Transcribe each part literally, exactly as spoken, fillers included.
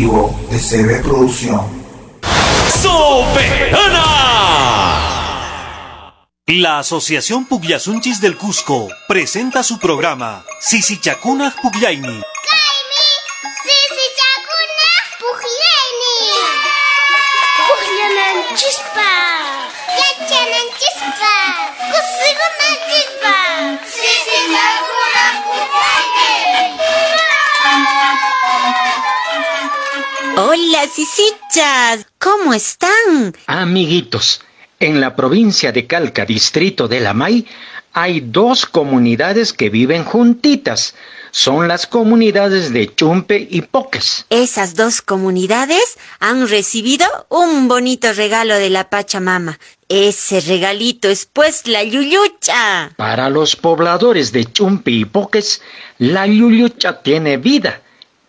exclusivo de C B Producción. ¡Soberana! La Asociación Pugllasunchis del Cusco presenta su programa Sisichakunaj Pugllayni. Hola, sisichas, ¿cómo están? Amiguitos, en la provincia de Calca, distrito de Lamay, hay dos comunidades que viven juntitas. Son las comunidades de Chumpe y Poques. Esas dos comunidades han recibido un bonito regalo de la Pachamama. Ese regalito es pues la llullucha. Para los pobladores de Chumpe y Poques, la llullucha tiene vida.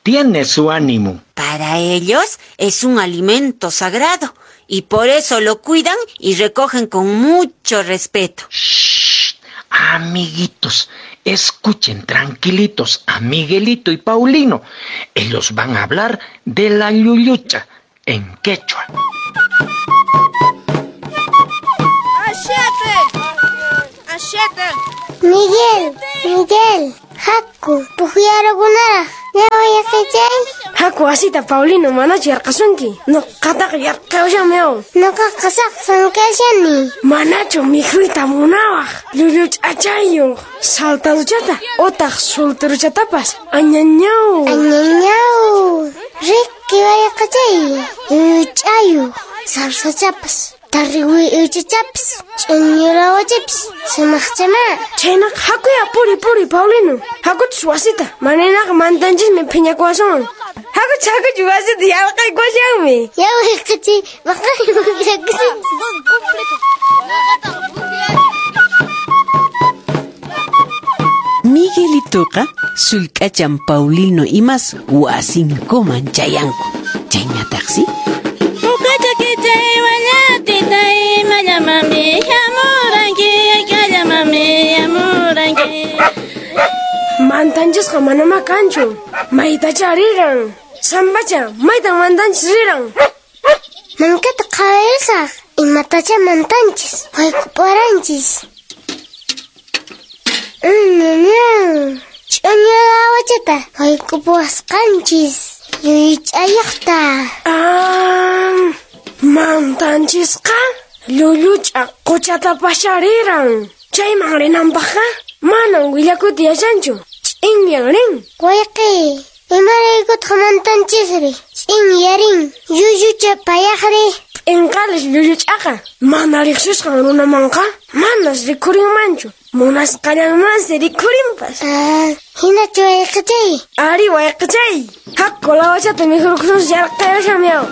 Tiene su ánimo. Para ellos es un alimento sagrado y por eso lo cuidan y recogen con mucho respeto. ¡Shh! Amiguitos, escuchen tranquilitos a Miguelito y Paulino. Ellos van a hablar de la llullucha en quechua. ¡Achete! ¡Achete! Miguel, Miguel, Haku, pujiarukunaraq. Haku asita Paulino manachu yarqasunki. Nuqataqa yarqawashanmiaw. Nuqaqa saqsan kashani. Manachu mikhuyta munawaq. Llulluch'achayuq. Saltaduchata utaq solteruchatapas. Añañaw. Añañaw. Riki wayaqachay. Llulluch'ayuq. Sarsachapas. Tarriwi uchachapas. Ch'uñurawachapas. Sumaqchama. Chaynaqa hakuya puri puri Paulino. Hakuchus wasita. Manaynaqa mantanchismi phiñakuwasunman. Hakuchus hakuchus wasita yarqaykuwashanmi. Yawayqachay waqaykuwashakusin. Miguelitoqa sullk'achan Paulino imas wasinkuman chayanku. Chayñataqsi Mantanchisqa manamá kanchu. Maytacha riran. Sambacha, maytan mantanchis riran. Mankata qhawarisaq. Imatacha mantanchis. Waykuparanchis. Ñañaw. Ch'uñurawachata waykupuwasqanchis. Llulluch'ayuqta. Ah, mantanchisqa llulluch'a quchatapascha riran. Chayman rinanpaqqa manan willakuyta yachanchu. Ch'inyan rin. Wayqi, imaraykutaq mantanchisri? Ch'inyarin, llullucha payaqri. P'inqalis llulluch'aqa mana riqsisqan runamanqa manas rikhurinmanchu. Munasqallanmansi rikhurinpas. Ah, hinachu wayqichay? Ari wayqichay. Haku lawachata mikhurkusunchis yarqayashanmiaw.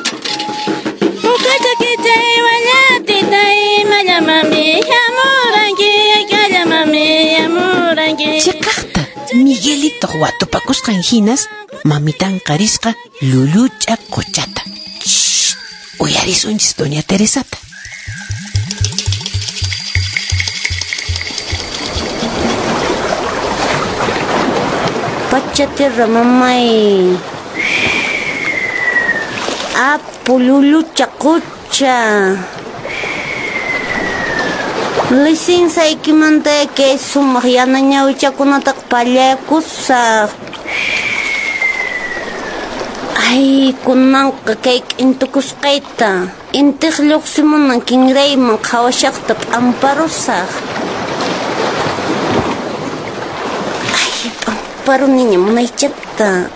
Chiqaqta Miguelito watupakusqan hinas mamitanqa risqa llulluch'a quchata. Shh, uyarisunchis doña Teresata. Pacha tierra mamay. Apu llullucha qucha. Lisinsaykimanta kay sumaq yana ñawichakunataqa pallakusaq. Ay, kunanqa kay k'intukusqayta. Intiq lluqsimunan kinrayman qhawashaqta p'amparusaq. Ay, p'amparuniña munaychata.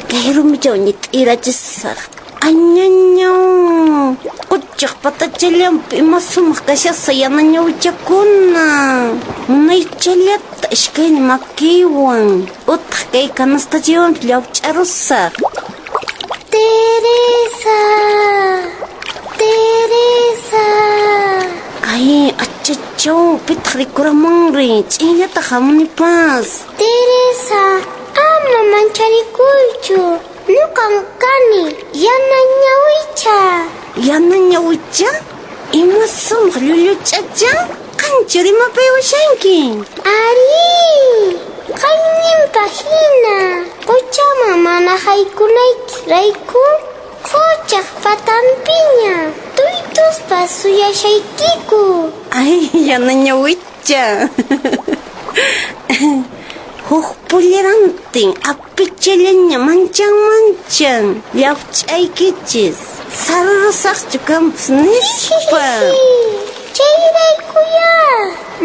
Kay rumichaw ñit'irachisaq. Añañaw. Quchaq patachallanpi ima sumaq kashasqa yana ñawichakuna. Munaychallata iskayni makiywan. Utaq kay kanastachiwanpi llawch'arusaq. Teresa, Teresa. Ay, achachaw, pitaq rikuramunri. Ch'inllata hamunipas. Teresa, ama mancharikuychu. Nuqan kani yana ñawicha. Yana ñawicha? Ima sumaq llulluch'acha? Qanchu rimapayawashanki? Ari, qayninpa hina. Quchaman mana haykunayki rayku Quchaq patanpiña tuytuspa suyashaykiku. Ay, yana ñawicha. Huk pullerantin apichallaña manchan manchan llawch'aykichis. Sarurusaqchu kanpas nispa. Chayraykuya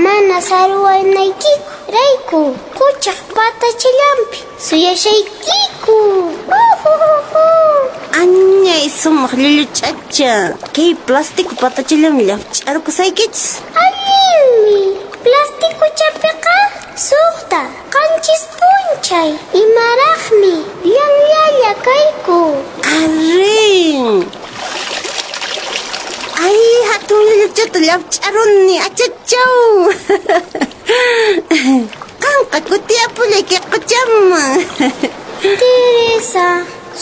mana saruwanaykiku rayku quchaq patachallanpi suyashaykiku. Añay sumaq llulluch'acha. Kay plástico patachallanmi llawch'arkusaykichis. Allinmi. Plastikuchapiqa suqta qanchis p'unchay imaraqmi llanllalla kayku. Arrin. Ay, hatun llulluchata llawch'aruni, achachaw. Qanqa kutiyapullay kay quchaman. Teresa,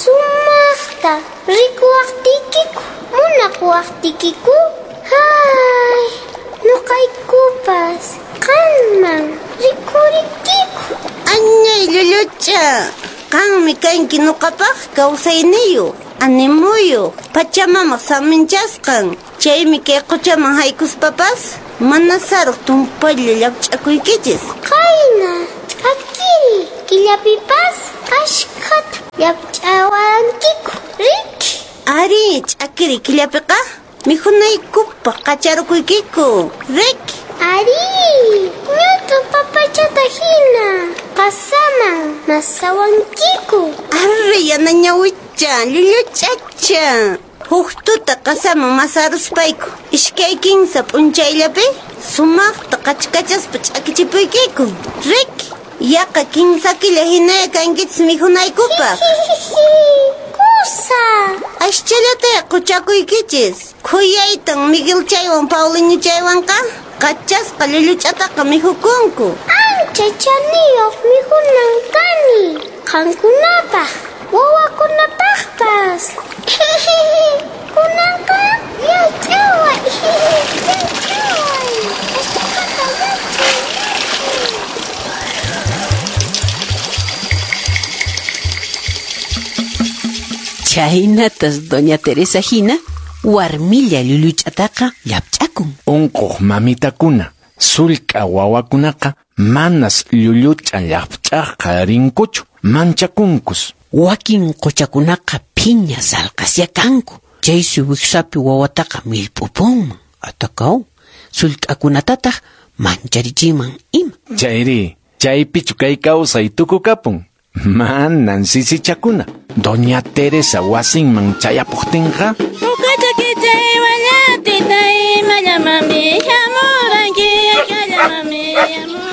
sumaqta rikuwaqtiykiku, munakuwaqtiykiku. Ay, nuqaykupas qanman rikurikiku. Añay llullucha, qanmi kanki nuqapaq kawsayniyuq, animuyuq, Pachamamaq saminchasqan. Chaymi kay quchaman haykuspapas mana saruq tumpalla llawch'akuykichis. Qayna ch'akiri killapipas ashkhata llawch'awankiku, riki? Ari, ch'akiri killapiqa mikhunaykupaq qacharukuykiku, riki? Ari, ñut'u papachata hina qasaman masawankiku. Arre, yana ñawicha, llulluch'acha. Huk tuta qasaman masaruspayku iskay kinsa p'unchayllapi sumaqta qachkachaspa ch'akichipuykiku, riki? Yaqa kinsa killa hinaya kankichis mikhunaykupaq. Kusa. Aschallata quchakuykichis. Khuyaytan Miguel chaywan Paulinho chaywanqa qachasqa llulluch'ataqa mikhukunku. Ancha chaniyuq mikhunan kani qankunapaq, wawakunapaqpas. Kunanqa llawch'away, llawch'away. Ashkhata llawch'ay. Chhaynatas doña Teresa hina warmilla llulluch'ataqa llapch'akun. Unquq mamitakuna, sullk'a wawakunaqa manas llulluch'a llapch'aqqa rinkuchu, manchakunkus. Wakin quchakunaqa phiña salqasya kanku. Chaysi wiksapi wawataqa millp'upunman, atakaw, sullk'akunatataq mancharichiman ima. Chayri, chaypichu kay kawsay tukukapun. Manan sisichakuna. Doña Teresa wasinman chayapuqtinqa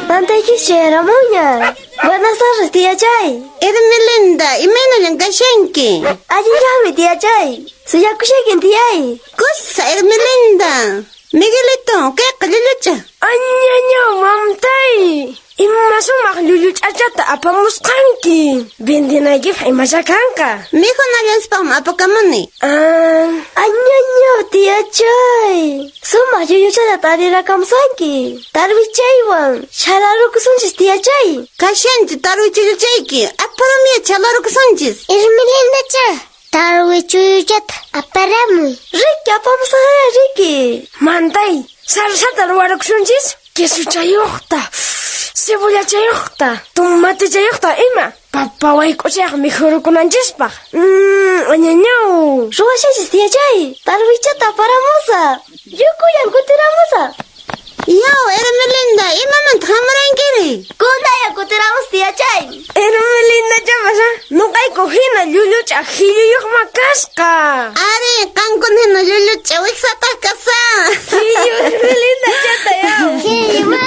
Mantaykish chayaramunña. Buenas tardes, tía Chay. Hermelinda, imaynallan kashanki? Allinllami, tía Chay. Suyakushaykin, tiyay. Kusa, Hermelinda. Miguelito, kayqa llullucha. Añañaw, mamtay. Ima sumaq llulluch'achata apamusqanki. Vendinaykipaq imasha kanqa. Mikhunallanspaqmi apakamuni. Ah, añañaw, tía Chay. Sumaq llulluchata tarirakamusanki. Tarwichaywan chhalarukusunchis, tía Chay. Kashanchu tarwichulluchayki. Aparamiya chhalarukusunchis. Hermelindacha, tarwichulluchata aparamuy. Riki, apamusqaya, riki. Mantay, salsata ruwarukusunchis. Quesuchayuqta, cebollachayuqta, tomatechayuqta ima. Papa wayk'uchayaq mikhurukunanchispaq. Mmm, añañaw. Ruwashanchis, tía Chay. Tarwichata aparamusa. Yukuyan kutiramusa. Yaw, Hermelinda, imamanta hamurankiri? Kunaya kutiramus, tía Chay. Hermelinda chapasha, nuqayku hina llulluch'a qhilluyuqma kasqa. Ari, qankuna hina llulluch'a wiksataq kasa. Qhillu Hermelinda chata yaw. Qhillu.